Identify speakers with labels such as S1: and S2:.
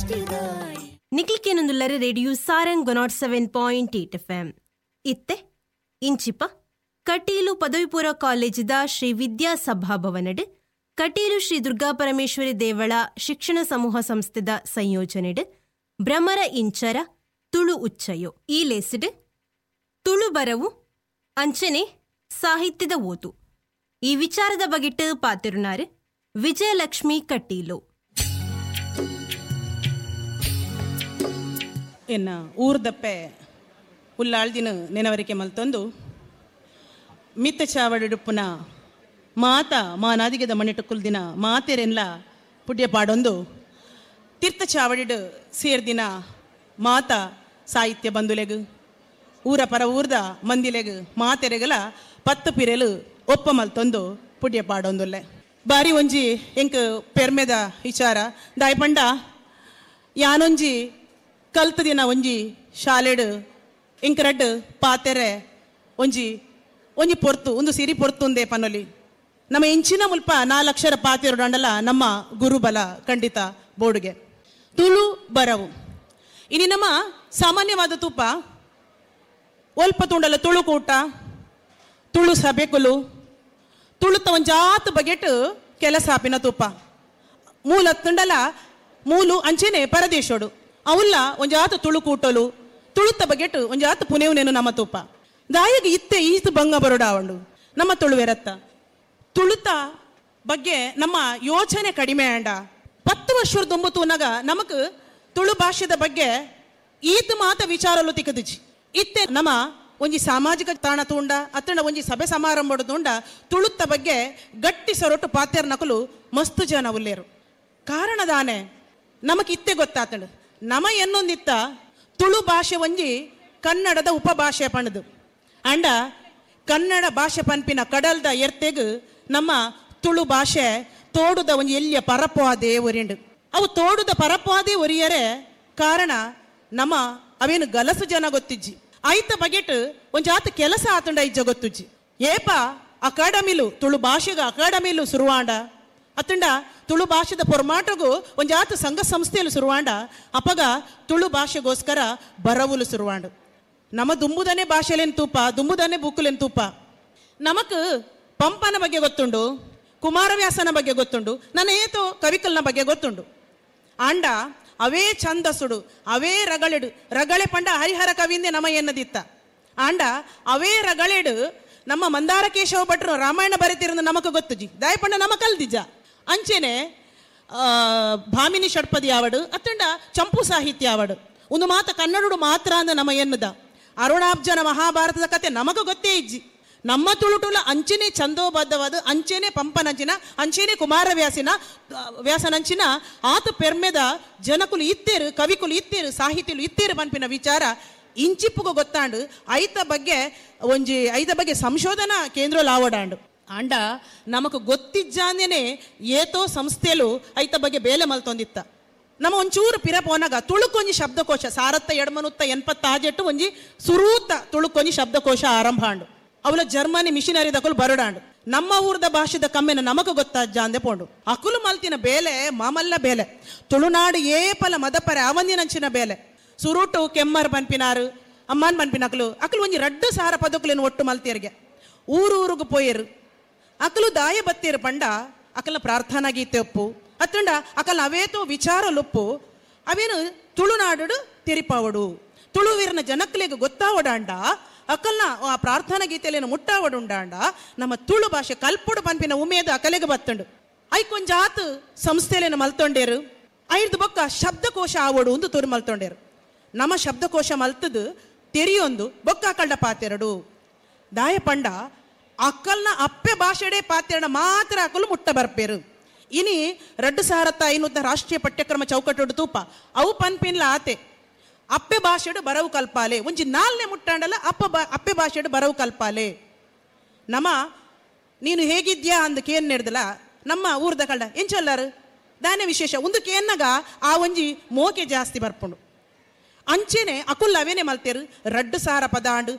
S1: ನಿಕ್ಲಿಕೇನೊಂದುಲ್ಲರ radio Sarang 107.8 FM. ಇತ್ತೆ ಇಂಚಿಪ ಕಟೀಲು ಪದವಿಪೂರ್ವ ಕಾಲೇಜಿದ ಶ್ರೀ ವಿದ್ಯಾ ಸಭಾಭವನಡ್ ಕಟೀಲು ಶ್ರೀ ದುರ್ಗಾ ಪರಮೇಶ್ವರಿ ದೇವಳ ಶಿಕ್ಷಣ ಸಮೂಹ ಸಂಸ್ಥೆದ ಸಂಯೋಜನೆಡ್ ಭ್ರಮರ ಇಂಚರ ತುಳು ಉಚ್ಚಯೋ ಈ ಲೇಸಿಡ್ ತುಳು ಬರವು ಅಂಚನೆ ಸಾಹಿತ್ಯದ ಓದು ಈ ವಿಚಾರದ ಬಗೆಟ್ ಪಾತಿರುನಾರು ವಿಜಯಲಕ್ಷ್ಮಿ ಕಟೀಲು.
S2: ಎನ್ನ ಊರ್ದಪ್ಪೆ ಉಲ್ಲಾಳ್ದಿನ ನೆನವರಿಕೆ ಮಲ್ತೊಂದು ಮಿತ್ತ ಚಾವಡಿಡುಪ್ಪುನ ಮಾತ ಮಾನಾದಿಗೆದ ಮಣ್ಣಿಟ್ಟು ಕುಲ್ದಿನ ಮಾತೆರೆನ್ಲ ಪುಡ್ಯ ಪಾಡೊಂದು ತೀರ್ಥ ಚಾವಡಿಡು ಸೇರ್ದಿನ ಮಾತ ಸಾಹಿತ್ಯ ಬಂಧುಲೆಗು ಊರ ಪರ ಊರ್ದ ಮಂದಿಲೆಗು ಮಾತೆರೆಗಲ ಪತ್ತು ಪಿರೆಲು ಒಪ್ಪ ಮಲ್ತೊಂದು ಪುಡ್ಯ ಪಾಡೊಂದುಲ್ಲೆ. ಬಾರಿ ಒಂಜಿ ಎಂಕ್ ಪೆರ್ಮೆದ ವಿಚಾರ ದಾಯಪಂಡ ಯಾನೊಂಜಿ ಕಲ್ತ ದಿನ ಒಂಜಿ ಶಾಲೆಡು ಇಂಕರಡ್ಡು ಪಾತೆರೆ ಒಂಜಿ ಒಂಜಿ ಪೊರ್ತು ಒಂದು ಸಿರಿ ಪೊರ್ತುಂದೆ ಪನೊಲಿ. ನಮ್ಮ ಇಂಚಿನ ಮುಲ್ಪ 4 ಅಕ್ಷರ ಪಾತೆರಡಂಡಲ ನಮ್ಮ ಗುರುಬಲ ಖಂಡಿತ ಬೋರ್ಡ್ಗೆ. ತುಳು ಬರವು ಇನಿ ನಮ್ಮ ಸಾಮಾನ್ಯವಾದ ತೂಪ ಒಲ್ಪ ತುಂಡಲ ತುಳುಕೂಟ ತುಳು ಸಭೆಕುಲು ತುಳುತ ಒಂಜಾತ ಬಗೆಟ್ ಕೆಲಸ ಆಪಿನ ತೂಪ ಮೂಲ ತುಂಡಲ ಮೂಲು ಅಂಚೆನೆ ಪರದೇಶೋಡು ಅವುಲ್ಲ ಒಂಜಾತ ತುಳುಕೂಟಲು ತುಳುತ ಬಗೆಟ್ ಒಂಜಾತ ಪುನೆವುನೇನು ನಮ್ಮ ತೂಪ ದಾಯಗ ಇತ್ತೆ ಈತ ಭಂಗ ಬರೋಡಾವಂಡು ನಮ್ಮ ತುಳುವೆರತ್ತ ತುಳುತ ಬಗ್ಗೆ ನಮ್ಮ ಯೋಚನೆ ಕಡಿಮೆ ಅಂಡ. 10 ವರ್ಷದ ದುಂಬು ನಮಕ್ ತುಳು ಭಾಷೆದ ಬಗ್ಗೆ ಈತ ಮಾತ ವಿಚಾರಲು ತಿಕ್ಕದಿಜಿ. ಇತ್ತೆ ನಮ್ಮ ಒಂಜಿ ಸಾಮಾಜಿಕ ತಾಣ ತೂಂಡ ಅತ್ತಂಡ ಒಂಜಿ ಸಭೆ ಸಮಾರಂಭ ತೂಂಡ ತುಳುತ್ತ ಬಗ್ಗೆ ಗಟ್ಟಿ ಸೊರಟು ಪಾತೆರ್ ನಕಲು ಮಸ್ತು ಜನ ಉಲ್ಲೇರು. ಕಾರಣದಾನೆ ನಮಕ್ ಇತ್ತೆ ಗೊತ್ತಾತಂಡು ನಮ ಎನ್ನೊಂದಿತ್ತ ತುಳು ಭಾಷೆ ಒಂಜಿ ಕನ್ನಡದ ಉಪಭಾಷೆ ಪಣದು ಅಂಡ ಕನ್ನಡ ಭಾಷೆ ಪನ್ಪಿನ ಕಡಲ್ದ ಎರ್ತೆಗು ನಮ್ಮ ತುಳು ಭಾಷೆ ತೋಡುದ ಒಂಜಿ ಎಲ್ಲಿಯ ಪರಪವಾದೇ ಒರಿಂಡು. ಅವು ತೋಡುದ ಪರಪವಾದೇ ಒರಿಯರೆ ಕಾರಣ ನಮ್ಮ ಅವೇನು ಗಲಸು ಜನ ಗೊತ್ತಿಜ್ಜಿ. ಐತ ಬಗೆಟ್ ಒಂಜಾತ ಕೆಲಸ ಆತಂಡ ಇಜ್ಜ ಗೊತ್ತುಜ್ಜಿ. ಏಪ ಅಕಾಡೆಮಿಲು ತುಳು ಭಾಷೆಗ ಅಕಾಡೆಮಿಲು ಸುರುವಾಂಡ ಅತ್ತಂಡ ತುಳು ಭಾಷೆದ ಪೊರ್ಮಾಟಗು ಒಂಜಾತ ಸಂಘ ಸಂಸ್ಥೆಯಲ್ಲಿ ಸುರುವಾಂಡ ಅಪಗ ತುಳು ಭಾಷೆಗೋಸ್ಕರ ಬರವುಲು ಸುರುವಾಂಡು. ನಮ್ಮ ದುಂಬುದನೆ ಭಾಷೆಲೇನು ತೂಪ ದುಂಬುದನೆ ಬುಕ್ಕುಲೇನು ತೂಪ. ನಮಕ್ ಪಂಪನ ಬಗ್ಗೆ ಗೊತ್ತುಂಡು, ಕುಮಾರವ್ಯಾಸನ ಬಗ್ಗೆ ಗೊತ್ತುಂಡು, ನನ್ನ ಏತೋ ಕವಿಕಲ್ನ ಬಗ್ಗೆ ಗೊತ್ತುಂಡು. ಆಂಡ ಅವೇ ಛಂದಸುಡು ಅವೇ ರಗಳೆಡು ರಗಳೆ ಪಂಡ ಹರಿಹರ ಕವಿಂದೆ ನಮ ಎನ್ನದಿತ್ತ. ಆಂಡ ಅವೇ ರಗಳೆಡು ನಮ್ಮ ಮಂದಾರ ಕೇಶವ ಭಟ್ರು ರಾಮಾಯಣ ಬರೆತಿರೋದು ನಮಕ್ ಗೊತ್ತುಜಿ ದಾಯಪಂಡ ನಮ ಕಲ್ದಿಜ. ಅಂಚೆನೆ ಭಾಮಿನಿ ಷಟ್ಪದಿ ಆವಡು ಅತ್ತಂಡ ಚಂಪು ಸಾಹಿತ್ಯ ಆವಡು ಒಂದು ಮಾತ ಕನ್ನಡಡು ಮಾತ್ರ ಅಂದ ನಮ ಎನ್ನದ. ಅರುಣಾಬ್ಜನ ಮಹಾಭಾರತದ ಕತೆ ನಮಗ ಗೊತ್ತೇ ಇಜ್ಜಿ. ನಮ್ಮ ತುಳುಟುಲ ಅಂಚೆನೆ ಛಂದೋಬದ್ಧವಾದ ಅಂಚೆನೆ ಪಂಪನಂಚಿನ ಅಂಚೆನೆ ಕುಮಾರವ್ಯಾಸಿನ ವ್ಯಾಸನಂಚಿನ ಆತ ಪೆರ್ಮೆದ ಜನಕುಲು ಇತ್ತೇರು ಕವಿಕುಲು ಇತ್ತೇರು ಸಾಹಿತ್ಯಲು ಇತ್ತೇರು ಪನ್ಪಿನ ವಿಚಾರ ಇಂಚಿಪ್ಪುಗು ಗೊತ್ತಾಂಡು. ಐತ ಬಗ್ಗೆ ಒಂಜಿ ಐತ ಬಗ್ಗೆ ಸಂಶೋಧನಾ ಕೇಂದ್ರ ಲಾವಡಾಂಡು. ಆಂಡ ನಮಕ್ ಗೊತ್ತಿಜ್ಜಾಂದೇನೆ ಏತೋ ಸಂಸ್ಥೆಲು ಐತ ಬಗ್ಗೆ ಬೇಲೆ ಮಲ್ತೊಂದಿತ್ತ. ನಮ್ಮ ಒಂಚೂರು ಪಿರ ಪೋನಾಗ ತುಳುಕೊಂಜಿ ಶಬ್ದಕೋಶ ಸಾರತ್ತ ಎಡಮನುತ್ತ 86 ಒಂಜಿ ಸುರೂತ ತುಳುಕೊಂಜಿ ಶಬ್ದಕೋಶ ಆರಂಭ ಆಂಡು. ಅವಲ ಜರ್ಮನಿ ಮಿಷನರಿ ದಕಲು ಬರಡಾಂಡು. ನಮ್ಮ ಊರ್ದ ಭಾಷೆದ ಕಮ್ಮೆನ ನಮಗ ಗೊತ್ತಾಜಾಂದೆ ಪೋಂಡು. ಅಕುಲು ಮಲ್ತಿನ ಬೇಲೆ ಮಾಮಲ್ಲ ಬೇಲೆ ತುಳುನಾಡು ಏಪಲ ಮದಪರೆ ಅವಂದಿನಂಚಿನ ಬೇಲೆ. ಸುರುಟು ಕೆಮ್ಮರ್ ಪನ್ಪಿನಾರು ಅಮ್ಮನ್ ಪನ್ಪಿನ ಅಕಲು ಅಕಲು ಒಂಜಿ 2,000 ಪದಕುಲೇನು ಒಟ್ಟು ಮಲ್ತಿಯರಿಗೆ ಊರೂರುಗು ಪೋಯರು. ಅಕಲು ದಾಯ ಬತ್ತೀರು ಪಂಡ ಅಕಲ ಪ್ರಾರ್ಥನಾ ಗೀತೆ ಒಪ್ಪು ಅತ್ತಂಡ ಅಕಲ ಅವೇತೋ ವಿಚಾರ ಲೊಪ್ಪು ಅವೇನು ತುಳುನಾಡು ತೆರಿಪಾವಡು ತುಳುವೀರನ ಜನಕ್ಲೆಗ್ ಗೊತ್ತಾವಡಾಂಡ ಅಕಲ್ನ ಆ ಪ್ರಾರ್ಥನಾ ಗೀತೆಲೇನು ಮುಟ್ಟಾವಡುಂಡಾಂಡ ನಮ್ಮ ತುಳು ಭಾಷೆ ಕಲ್ಪುಡು ಪನ್ಪಿನ ಉಮೇದು ಅಕಲೆಗೆ ಬತ್ತಂಡು. ಐಕೊಂಜಾತ್ ಸಂಸ್ಥೆಲೇನು ಮಲ್ತೊಂಡೇರು ಐರ್ದು ಬೊಕ್ಕ ಶಬ್ದಕೋಶ ಆವಡು ಒಂದು ತುರು ಮಲ್ತೊಂಡೇರು. ನಮ್ಮ ಶಬ್ದಕೋಶ ಮಲ್ತದು ತೆರಿಯೊಂದು ಬೊಕ್ಕ ಅಕಲ್ಡ ಪಾತೆರಡು ದಾಯ ಪಂಡ ಅಕ್ಕಲ್ನ ಅಪ್ಪೆ ಭಾಷೆಡೆ ಪಾತೆರಡ ಮಾತ್ರ ಅಕಲು ಮುಟ್ಟ ಬರ್ಪೇರು. ಇನಿ 2500 ರಾಷ್ಟ್ರೀಯ ಪಠ್ಯಕ್ರಮ ಚೌಕಟ್ಟುಡು ತೂಪ ಅವು ಪನ್ಪಿನ್ಲ ಆತೆ ಅಪ್ಪೆ ಭಾಷೆಡು ಬರವು ಕಲ್ಪಾಲೆ ಒಂಜಿ 4ನೇ ಮುಟ್ಟಾಂಡಲ ಅಪ್ಪೆ ಭಾಷೆಡು ಬರವು ಕಲ್ಪಾಲೆ. ನಮ್ಮ ನೀನು ಹೇಗಿದ್ಯಾ ಅಂದಕ್ಕೆ ಏನ್ ನಡೆದಲ್ಲ ನಮ್ಮ ಊರ್ದ ಕಳ್ಳ ಎಂಚೊಲ್ಲಾರು ದಾನೆ ವಿಶೇಷ ಒಂದಕ್ಕೆ ಏನಾಗ ಆ ಒಂಜಿ ಮೋಕೆ ಜಾಸ್ತಿ ಬರ್ಪುಂಡು. ಅಂಚೆನೆ ಅಕುಲ್ ಅವೇನೆ ಮಲ್ತೇರು 2,000 ಪದಾಂಡು